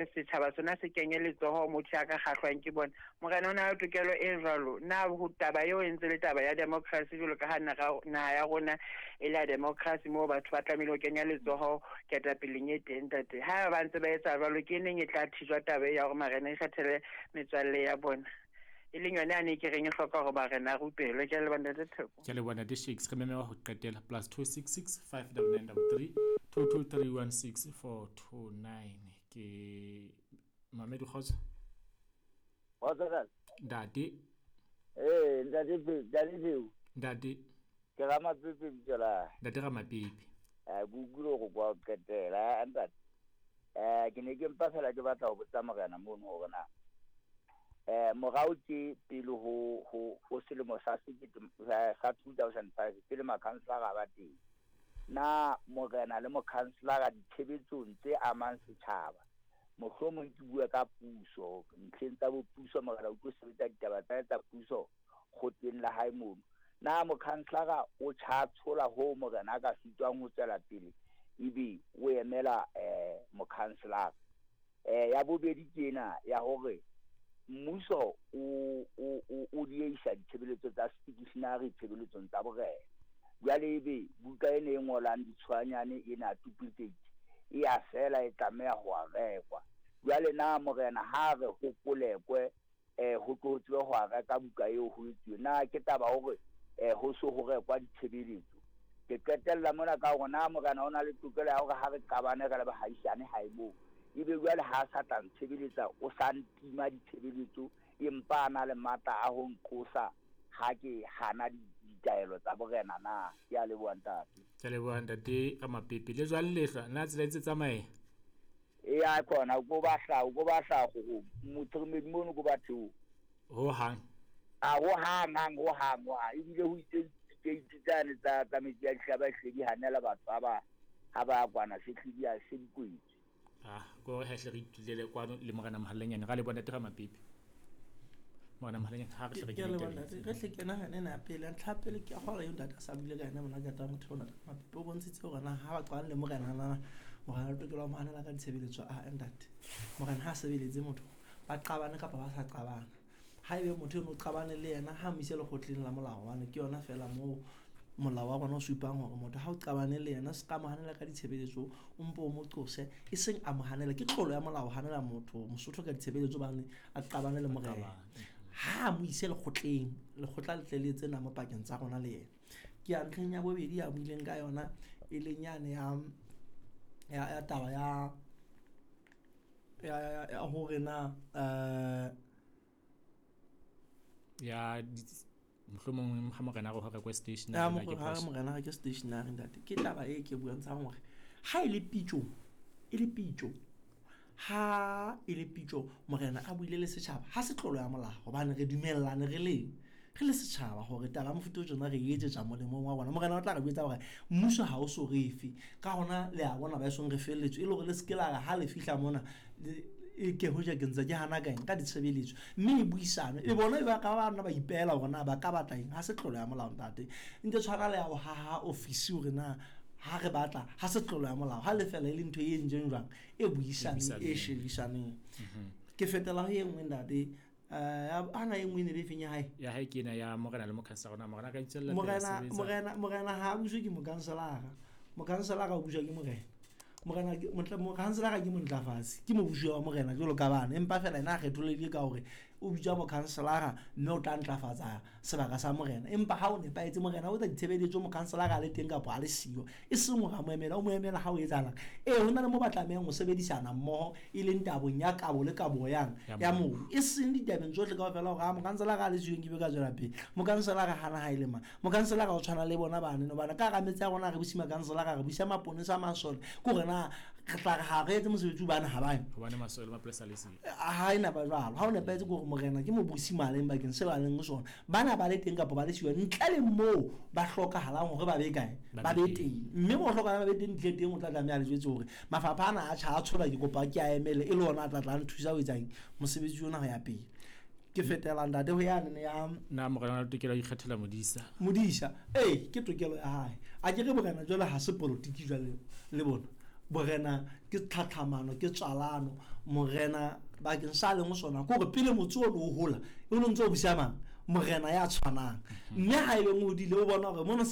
Setjhaba sona se kenye letsoho motho ya ka kgahlwang ke bona. Morena o na le tokelo e jwalo. Na ho taba eo e ntse le taba ya democracy jwalo ka ha naha ya rona e le ya democracy moo batho ba tlamehile ho kenya letsoho ketapeleng e teng ntate. Ha ba ntse ba etsa jwalo ke neng e tla thijwa taba e ya hore marena a ikgethele metswalle ya bona. E leng yone yane e ke reng e hloka hore barena a rupelwe. Ke a leboha ntate Theko. Ke a leboha ntate Shakes. Re meme wa ho qetela +266 599 33 223 16429. Ke Mamedi kgotso. Kgotso kae? Ntate. Ee, ntate ntate Theo. Ntate. Ke Ramapepe bitso la. Ntate Ramapepe. Eh, ke utlwile hore kwa qetela, ntate. Eh, ke ne ke mpa fela ke batla ho botsa morena mono hore na eh morao ke pele ho ho ho selemo sa sekete sa 2005 pele makhanselara ba teng. Na morena le mokhanselara ditshebetsong tse amang setjhaba, mohlomong ke bue ka puso, ntlheng tsa bopuso, morena o tlo sebetsa ditaba tsa hae tsa puso kgotleng la hae mono. Na mokhanselara o tjha tshola hoo morena a ka sitwang ho tswela pele ebe o emela mokhanselara? Ya bobedi ke ena ya hore mmuso o o o o dieisa ditshebeletso tsa stationery tshebeletsong tsa borena. Jwale ebe buka ena e ngolang ditshoanyane ena duplicate e ya fela e tlameha ho a rekwa. Jwale na morena ha re ho kolekwe ho tlo tsebe ho a reka buka eo ho etsuwe na ke taba hore ho so ho rekwa ditshebeletso? Ke qetella mona ka hore na morena o na le tokelo ya hore ha re qabane re le bahaisane hae moo ebe jwale ha a sa tla ntshebeletsa o sa ntima ditshebeletso empa a na le matla a ho nqosa ha ke hana ditaelo tsa borena na? Ke a leboha ntate. Ke a leboha ntate Ramapepe. Le jwang lehlwa na tsela e ntse tsamaye? Eya khona ko ba hla ko ba hla go motshiremedi mono ko ba theo. Ho hang. A ho hang hang ho hang ho hang ebile ho itse dikeiti tsane tsa tsa metsi a dihlaba hle di hanela batho ha ba ha ba kwana se hle di a se di kwetswe. Ah, ko re hle re itulele kwano le morena Mohalanyane ra le bona tera Mapepe. Morena Mohalanyane ha re hle re kene tabeng. Re hle kena hane na pele ntlha pele ke a gore eo ntate a sa buile ka ena mona ka taba motho ona Mapepe o bontshitse hore na ha ba qabane le morena na morena o tokelo mo hanela ka ditshebeletso a ntate. Morena ha sebeletse motho ba qabane kapa ba sa qabana. Haebe motho eno o qabane le yena ha mo ise lekgotleng la molao hobane ke yona fela moo molao wa rona o supang hore motho ha o qabane le yena se ka mo hanela ka ditshebeletso o mpo o mo qose e seng a mo hanela ke tlolo ya molao hanela motho mosotho ka ditshebeletso bane a qabane le morena ha a mo ise lekgotleng lekgotla le tle le etse namo pakeng tsa rona le yena ke ya ntlheng ya bobedi ya buileng ka yona e leng yane ya ya taba ya ya hore na ya mohlomong ha morena re ho rekwe stationery ha morena re ke stationery ntate ke taba e ke bontshang hore ha e le pitso e le pitso ha e le pitso morena a buile le setjhaba ha se tlolo ya molao hobane re dumellane re le re le setjhaba hore taba ya mofuta o tjena re e etsetsa molemong wa rona. Morena o tla re jwetsa hore mmuso ha o so re fe. Ka hona le a bona ba esong re felletswe e le hore le se ke la re ha le fihla mona e ke hoja ke ntse ke hana ka eng ka ditshebeletso mme e buisane e bona e ba ka ba nna ba ipehela hore na ba ka batla eng ha se tlolo ya molao ntate ntse tshwana le ya ho haha ofisi hore na ha re batla ha se tlolo ya molao ha le fela e le ntho e entseng jwang e buisaneng e shebisaneng ke fetela ho e nngwe ntate ana e nngwe e ne le efeng ya hae ya hae ke ena ya morena le mokhanselara na morena ka itswella pele a morena sebetsa morena morena ha a buswe ke mokanselara mokanselara o buswa ke morena morena ke- motla- mokhanselara ke montlafatsi ke mobusi wa morena jwalo ka bana empa fela ena a kgetholehile ka hore o bitswa mokhanselara mme o tla ntlafatsa sebaka sa morena empa ha o nepahetse morena o etsa ditshebeletso mokhanselara a le teng kapa a le siyo e seng hore a mo emela o mo emela ha o etsahalang ee ho na le mo ba tlamehang ho sebedisana mmoho e leng tabong ya kabo le kabo yang ya mobu e seng ditabeng tsohle kaofela hore a mokanselara a le siyo nke be ka tswela pele mokanselara hana ha e le mang mokanselara o tshwana le bona bane no bana ka hara metse ya rona re busa makanselara re busa maponesa masole ke hore na re tla re ha re etse mosebetsi bana ha bayo hobane masole le mapolesa le siyo ha e napa jwalo ha o nepahetse ke hore morena ke mobusi maleng bakeng seo a leng ho sona bana ba le teng kapa ba le siyo ntle le moo ba hlokahalang hore ba be kae ba be teng mme mo hlokahalang ba be teng ntle teng o tla tlameha le jwetse hore mafapha ana a tjha a tshola ke kopa ke a emele e le ona a tla tla nthusa ho etsang mosebetsi ona ho ya pele ke fetela ntate ho yane ya na morena o tokelo ya ikgethela modisa modisa ee ke tokelo ya hae a ke re morena jwale ha se politiki jwale le bona. Borena ke tlhatlhamano, ke tswalano. Morena bakeng sa a leng sona ke gore pele motse o ne o hola, o ne o ntse o busa mang? Morena ya tshwanang. Mme ha e beng o hodile o bona gore mono.